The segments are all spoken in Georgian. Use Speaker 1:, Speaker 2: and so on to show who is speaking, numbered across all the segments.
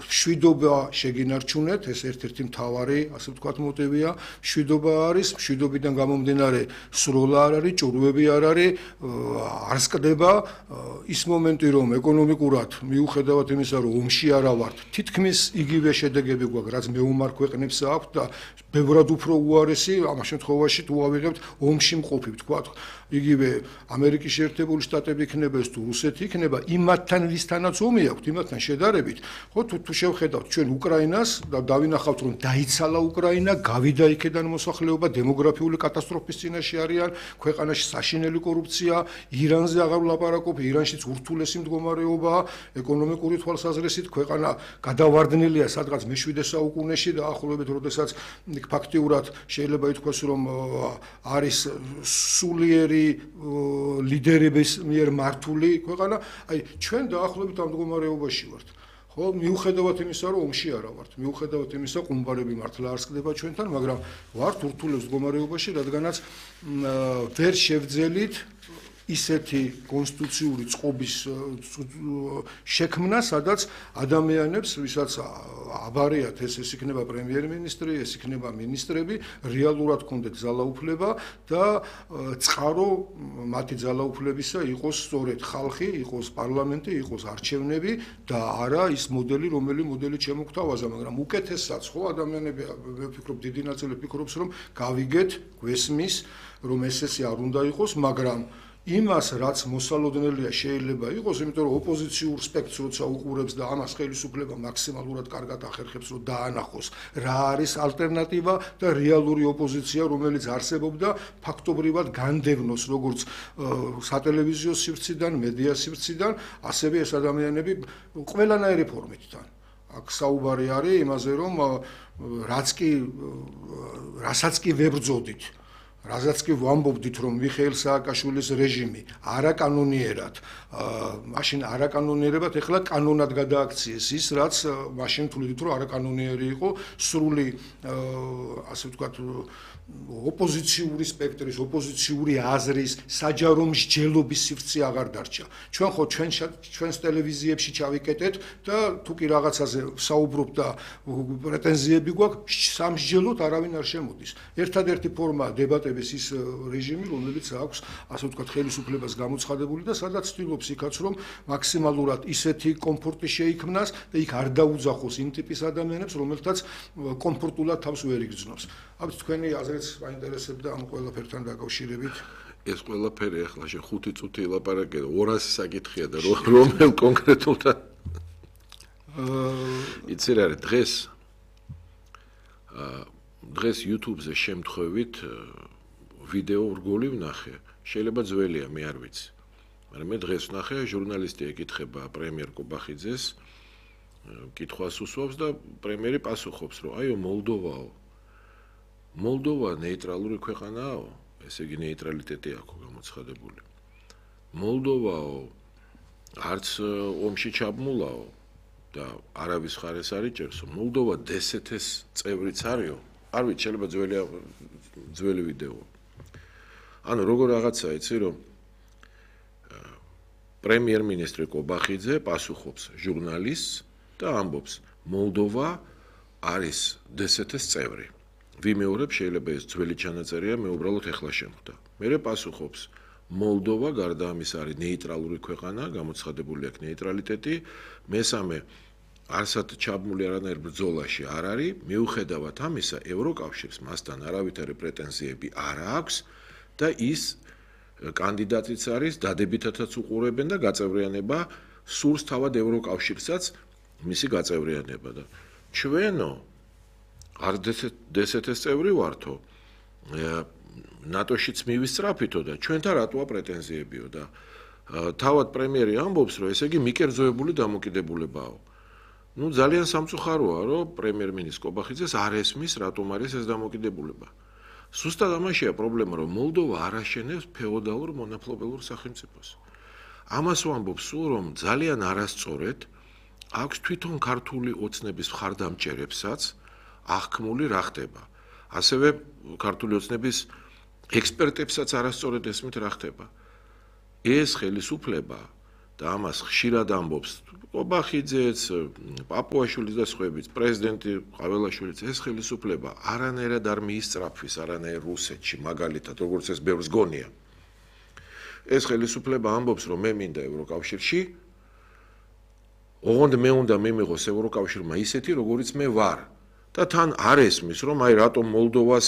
Speaker 1: შვიდობა შეგინარჩუნეთ, ეს ერთ-ერთი მთავარი, ასე ვთქვათ, მოტივია. შვიდობა არის, მშვიდობიდან გამომდინარე სროლა არ არის, ჭურვები არ არის, არ სკდება ის მომენტი, რომ ეკონომიკურად მიუხედავად იმისა, რომ ომში არა ვართ, თითქმის იგივე შედეგები გვაქვს, რაც მეომარ ქვეყნებს აქვს და ბევრად უფრო უარესი, ამ შემთხვევაში თუ ავიღებთ ომში მყოფი, ვთქვათ, იგივე ამერიკის შეერთებული შტატები იქნება ეს თუ რუსეთი იქნება, იმათთან ვისთანაც ომი აქვს, იმათთან შედარებით, ხო თუ შევხედავთ ჩვენ უკრაინას და დავინახავთ, რომ დაიცალა უკრაინა, გავიდა იქედან მოსახლეობა, დემოგრაფიული კატასტროფის წინაშე არიან, ქვეყანაში საშინელი კორუფცია, ირანზე აღარ ვლაპარაკობ, ირანშიც ურთულესი მდგომარეობაა, ეკონომიკური თვალსაზრისით ქვეყანა გადავარდნილია სადღაც მე-7 საუკუნეში და ახლობებით, როდესაც ფაქტიურად შეიძლება ითქვას, რომ არის სულიერი ლიდერების მიერ მართული ქვეყანა, აი ჩვენ დაახლოებით ამ მდგომარეობაში ვართ. ხო, მიუხედავად იმისა, რომ ომში არა ვართ, მიუხედავად იმისა, ყუმბარები მართლა არ სკდება ჩვენთან, მაგრამ ვართ ურთულეს მდგომარეობაში, რადგანაც ვერ შევძელით ისეთი კონსტიტუციური წყობის შექმნა, სადაც ადამიანებს, ვისაც აბარიათ ეს იქნება პრემიერ-მინისტრი, ეს იქნება მინისტრები, რეალურად კონდეთ ძალაუფლება და წყარო მათი ძალაუფლებისა იყოს სწორედ ხალხი, იყოს პარლამენტი, იყოს არჩევნები და არა ის მოდელი, რომელიც მოდელი შემოგთავაზა, მაგრამ უკეთესაც ხო ადამიანები, მე ვფიქრობ, დიდი ნაწილი ფიქრობს, რომ გავიგეთ, გვესმის, რომ ეს არ უნდა იყოს, მაგრამ იმას, რაც მოსალოდნელია შეიძლება იყოს, იმიტომ რომ ოპოზიციურ სპექტრს როცა უყურებს და ამას ხელისუფლება მაქსიმალურად კარგად ახერხებს, რომ დაანახოს, რა არის ალტერნატივა და რეალური ოპოზიცია, რომელიც არსებობდა, ფაქტობრივად განდევნოს როგორც სატელევიზიო სივრციდან, მედია სივრციდან, ასევე ეს ადამიანები ყველანაირი ფორმით თან. აქ საუბარი არის იმაზე, რომ რასაც კი ვებრძოდით, რაზეც კი ვამბობდით, რომ მიხეილ სააკაშვილის რეჟიმი არაკანონიერად, მაშინ არაკანონიერებად, ეხლა კანონად გადააქციეს ის, რაც მაშინ თვლიდით, რომ არაკანონიერი იყო, სრული, ასე ვთქვათ, ოპოზიციური სპექტრის, ოპოზიციური აზრის, საჯარო მსჯელობის სივრცე აღარ დარჩა. ჩვენ ხო ჩვენს ტელევიზიებში ჩავიკეტეთ და თუ კი რაღაცაზე საუბრობთ და პრეტენზიები გვაქვს, სამსჯელოდ არავინ არ შემოდის. ერთადერთი ფორმა დებატების ის რეჟიმი, რომელიც აქვს, ასე ვთქვათ, ხელისუფლებას გამოცხადებული და სადაც ცდილობს იქაც, რომ მაქსიმალურად ისეთი კომფორტი შეიქმნას და იქ არ დაუძახოს იმ ტიპის ადამიანებს, რომელთაც კომფორტულად თავს ვერ იგრძნობს. ამით თქვენი აზრიც მაინტერესებდა ამ ყველაფერთან დაკავშირებით.
Speaker 2: ეს ყველაფერი ახლა შე 5 წუთი ელაპარაკე და 200 საკითხია და რომელ კონკრეტულად იცი რა არის დღეს YouTube-ზე შემთხვევით ვიდეო რგოლი ვნახე. შეიძლება ძველია, მე არ ვიცი. მაგრამ მე დღეს ვნახე, ჟურნალისტი ეკითხება პრემიერ კობახიძეს, კითხვას უსვამს და პრემიერი პასუხობს, რომ აიო მოლდოვა ნეიტრალური ქვეყანაა, ესე იგი ნეიტრალიტეტი აქვს გამოცხადებული. მოლდოვაო არც ომში ჩაბმულაო და არავის ხარეს არ იჭერს, მოლდოვა DST-ის წევრიც არისო. არ ვიცი, შეიძლება ძველი ვიდეო. ანუ როგორ რაღაცა იცი, რომ პრემიერ-მინისტრი კობახიძე პასუხობს ჟურნალისტს და ამბობს, მოლდოვა არის DST-ის წევრი. ვიმეორებ, შეიძლება ეს ძველი ჩანაწერია, მე უბრალოდ ეხლა შემხვდა. მერე პასუხობს, მოლდოვა გარდა ამის არის ნეიტრალური ქვეყანა, გამოცხადებული აქვს ნეიტრალიტეტი, მესამე არსად ჩაბმული არანაირ ბრძოლაში არ არის, მიუხედავად ამისა, ევროკავშირს მასთან არავითარი პრეტენზიები არ აქვს და ის კანდიდატიც არის, დადებითათაც უყურებენ და გაწევრიანება სურს თავად ევროკავშირსაც მისი გაწევრიანება და ჩვენო არ DST-ის წევრი ვართო, ნატოშიც მივისწრაფითო და ჩვენთან რატოა პრეტენზიებიო და თავად პრემიერი ამბობს, რომ ესე იგი მიკერძოებული დამოკიდებულებაა. Ну, ძალიან სამწუხაროა, რომ პრემიერ-მინისტრ კობახიძეს არ ესმის, რატომ არის ეს დამოკიდებულება. Სუსტად ამაშია პრობლემა, რომ მოლდოვა არ აშენებს ფეოდალურ მონაპლობელურ სახელმწიფოს. ამას ვამბობ სულ, რომ ძალიან არასწორად აქვს თვითონ ქართული ოცნების მხარდამჭერებსაც აღქმული რა ხდება. ასევე ქართული ოცნების ექსპერტებსაც არასწორად ესმით რა ხდება. ეს ხელისუფლება და ამას ხშირად ამბობს კობახიძეც, პაპუაშვილიც და სხვაებიც, პრეზიდენტი ყაველაშვილიც, ეს ხელისუფლება არანაირად არ მიისწრაფვის არანაირ რუსეთში, მაგალითად, როგორც ეს ბევრს გონია. ეს ხელისუფლება ამბობს, რომ მე მინდა ევროკავშირში, ოღონდ მე უნდა მიმიღოს ევროკავშირმა ისეთი, როგორიც მე ვარ. და თან არ ესმის, რომ აი რატომ მოლდოვას,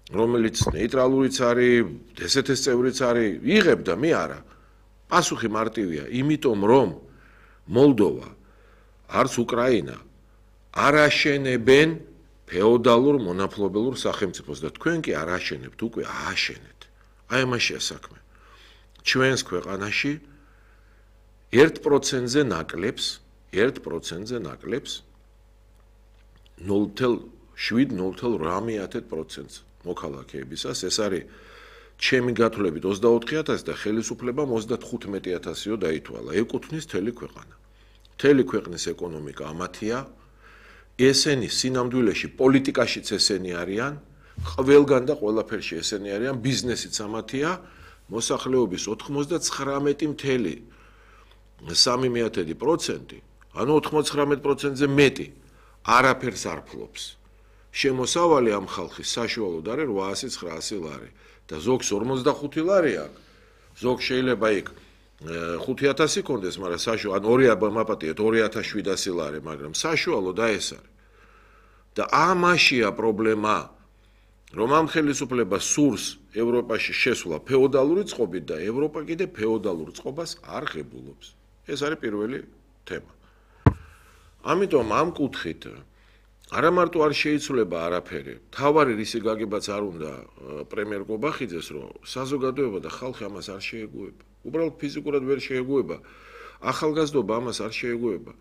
Speaker 2: რომელიც ნეიტრალურიც არის, DST-ს წევრიც არის, იღებ და მე არა. პასუხი მარტივია, იმიტომ რომ მოლდოვა არც უკრაინა არ აშენებენ ფეოდალურ მონაპლობელურ სახელმწიფოს და თქვენ კი არ აშენებთ, უკვე ააშენეთ. აი ამაშია საქმე. ჩვენს ქვეყანაში 1%-ზე ნაკლებს 0.7-0.8%-ს მოქალაქეებისას, ეს არის ჩემი გათვლებით 24,000 და ხელისუფლებამ 35,000-იო დაითვალა. ეკუთვნის მთელი ქვეყანა. მთელი ქვეყნის ეკონომიკა ამათია. ესენი სინამდვილეში პოლიტიკაშიც ესენი არიან, ყველგან და ყველაფერში ესენი არიან, ბიზნესიც ამათია. მოსახლეობის 99,3%, ანუ 99%-ზე მეტი არაფერს არ ფლობს. შემოსავალი ამ ხალხის საშუალოდ არის 800-900 ლარი და ზოგს 45 ლარი აქვს. ზოგ შეიძლება იქ 5,000 იქონდეს, მაგრამ საშუალო, ან 2 მაპატიეთ 2,700 ლარი, მაგრამ საშუალოდ ეს არის. და ამაშია პრობლემა, რომ ამ ხელისუფლებას სურს ევროპაში შესვლა ფეოდალური წყობით და ევროპა კიდე ფეოდალურ წყობას არ ღებულობს. ეს არის პირველი თემა. ამიტომ ამ კუთხით არა მარტო არ შეიცვლება არაფერი, თავარი რისი გაგებაც არ უნდა პრემიერ კობახიძეს, რომ საზოგადოება და ხალხი ამას არ შეეგუება. უბრალოდ ფიზიკურად ვერ შეეგუება. ახალგაზრდობა ამას არ შეეგუება.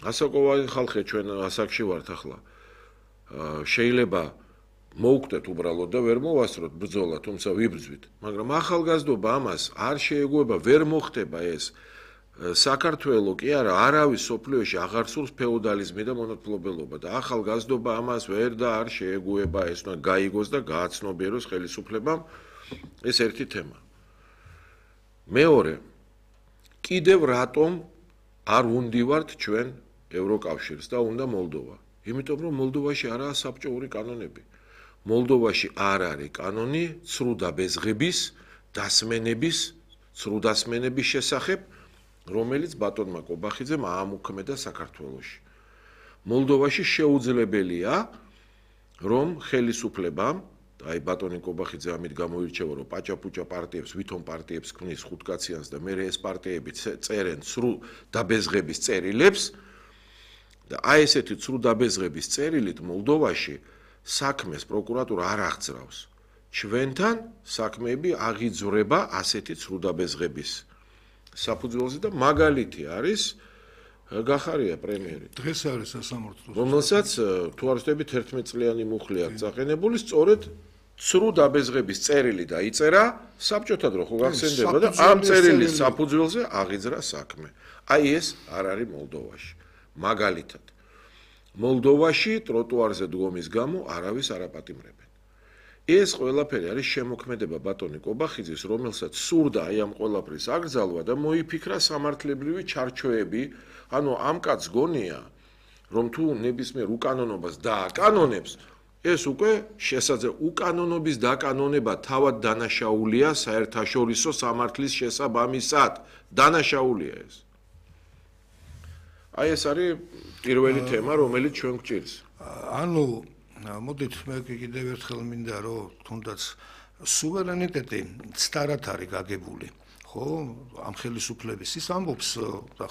Speaker 2: ასაკოვანი ხალხი ჩვენ ასაკში ვართ ახლა. შეიძლება მოვკვდეთ უბრალოდ და ვერ მოვასწროთ ბრძოლა, თუმცა ვიბრძვით, მაგრამ ახალგაზრდობა ამას არ შეეგუება, ვერ მოხდება ეს. საქართველოს კი არა, არავის სოფლიოში აღარ სურს ფეოდალიზმი და მონაპლობელობა და ახალგაზრდობა ამას ვერ და არ შეეგუება, ეს უნდა გაიგოს და გააცნობიეროს ხელისუფლებამ. ეს ერთი თემა. მეორე, კიდევ რატომ არ უნდივართ ჩვენ ევროკავშირს და უნდა მოლდოვა? იმიტომ რომ მოლდოვაში არაა საბჭოური კანონები. მოლდოვაში არ არის კანონი ცრუ დაბეზღების, ცრუ დასმენების შესახებ, რომელიც ბატონმა კობახიძემ აამუქმედა საქართველოში. მოლდოვაში შეუძლებელია, რომ ხელისუფლებამ, აი ბატონი კობახიძე ამით გამოირჩევა, რომ პაჭაპუჭა პარტიებს, ვითომ პარტიებს ქმნის ხუთკაციანს და მე ეს პარტიები წერენ ცრუ დაბეზღების წერილებს და აი ესეთი ცრუ დაბეზღების წერილით მოლდოვაში საქმეს პროკურატურა არ აღძრავს. ჩვენთან საქმეები აღიძვრება ასეთი ცრუ დაბეზღების საფუძველზე და მაგალითი არის გახარია პრემიერი.
Speaker 1: დღეს არის სასამართლო.
Speaker 2: რომელსაც თუ არ ვთქვი 11 წლიანი მუხლი აქვს წაყენებული, სწორედ ცრუ დაბეზღების წერილი დაიწერა საბჭოთა დრო ხო გახსენდება და ამ წერილის საფუძველზე აღიძრა საქმე. აი ეს არ არის მოლდოვაში. მაგალითად, მოლდოვაში ტროტუარზე დგომის გამო არავის არ აპატიმრებენ. ეს ყველაფერი არის შემოქმედება ბატონი კობახიძის, რომელსაც სურდა აი ამ ყველაფრის აკრძალვა და მოიფიქრა სამართლებრივი ჩარჩოები, ანუ ამ კაცს გონია, რომ თუ ნებისმიერ უკანონობას დააკანონებს, ეს უკვე უკანონობის დაკანონება თავად დანაშაულია საერთაშორისო სამართლის შესაბამისად. დანაშაულია ეს. აი ეს არის პირველი თემა, რომელიც ჩვენ გვჭირს.
Speaker 1: ანუ მოდით მე კიდევ ერთხელ მინდა რომ თუნდაც სუვერენიტეტი ცდარად არის გაგებული. ხო, ამ ხელისუფლების ის ამბობს და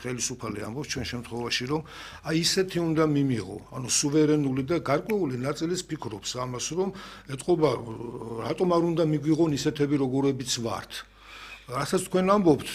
Speaker 1: ხელისუფალი ამბობს ჩვენ შემთხვევაში რომ აი ისეთი უნდა მიმიღო, ანუ სუვერენული და გარკვეული ნაწილის ფიქრობს ამას რომ ეთყობა რატომ არ უნდა მიგვიღონ ისეთები როგორებიც ვართ. რასაც თქვენ ამბობთ,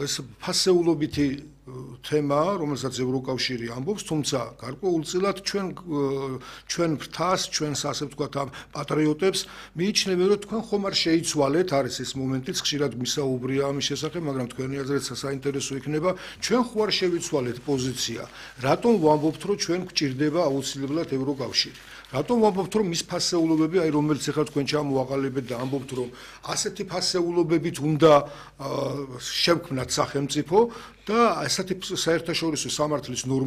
Speaker 1: ეს ფასეულობითი თემა, რომელსაც ევროკავშირი ამბობს, თუმცა გარკვეულწილად ჩვენ ფრთას, ჩვენს ასე ვთქვათ ამ პატრიოტებს მიიჩნევენ, რომ თქვენ ხომ არ შეიცვალეთ, არის ეს მომენტიც, ხშირად გვისაუბრია ამის შესახებ, მაგრამ თქვენი აზრით საინტერესო იქნება, ჩვენ ხო არ შევიცვალეთ პოზიცია, რატომ ვამბობთ, რომ ჩვენ გვჭირდება აუცილებლად ევროკავშირი? რატომ ვამბობთ, რომ მის ფასეულობები, აი რომელიც ახლა თქვენ ჩამოაყალიბეთ და ამბობთ, რომ ასეთი ფასეულობებით უნდა შევქმნათ სახელმწიფო და ასეთი საერთაშორისო სამართლის ნორმები